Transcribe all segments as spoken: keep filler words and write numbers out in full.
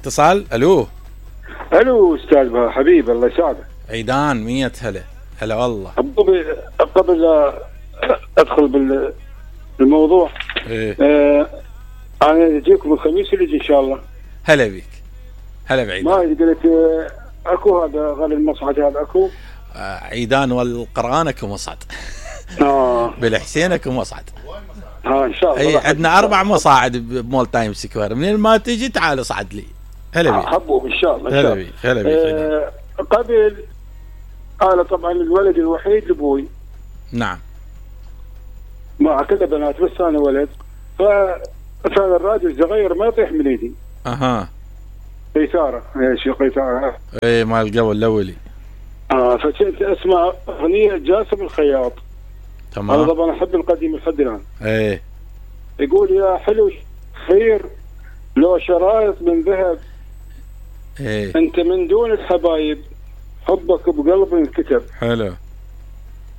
اتصال. الو الو استاذ حبيب الله يسعدك. عيدان مية هلا. هلا والله. قبل لا ادخل بالموضوع ايه آه انا اجيكم الخميس اللي يجي ان شاء الله. هلا بيك. هلا بعيدان. ما قلت آه اكو هذا غالي المصعد هذا اكو آه عيدان والقرآن اكو مصعد. اه بالحسين اكو مصعد. ها ان شاء الله. اي عندنا اربع مصاعد بمول تايم سكوير، منين ما تجي تعال اصعد لي. هلا بيك. حبوب ان شاء الله. ان شاء هلا الله. بيك. هلا بيك. آه قبل انا طبعا الولد الوحيد لابوي. نعم. مع كذا بنات بس انا ولد، فكان الراجل صغير ما يطيح من ايدي. اها. قيثاره ايش قيثاره؟ اي مال القبل الاولي. اه فكنت اسمع اغنيه جاسم الخياط. تمام. انا طبعا احب القديم لحد الان. ايه. يقول يا حلو خير لو شرايط من ذهب. ايه. انت من دون الحبايب حبك بقلبي انكتب. حلو.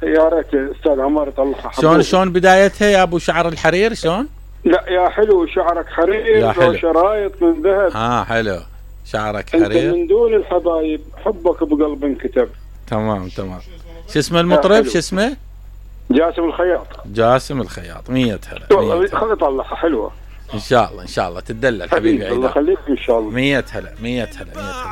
يا ريت استاذ عمار يطلعها. شلون شلون بدايتها يا ابو شعر الحرير شلون؟ لا يا حلو شعرك حرير يا حلو. لو شرايط من ذهب. اه حلو. شعرك انت حرير. من دون الحبايب حبك بقلبي انكتب. تمام تمام. شو اسمه المطرب شو اسمه؟ جاسم الخياط. جاسم الخياط. مية هلا. خلي اطلعها حلوه ان شاء الله ان شاء الله تدلل حبيبي عيدان. الله يخليك ان شاء الله. مية هلا. مية هلا. مية هلا.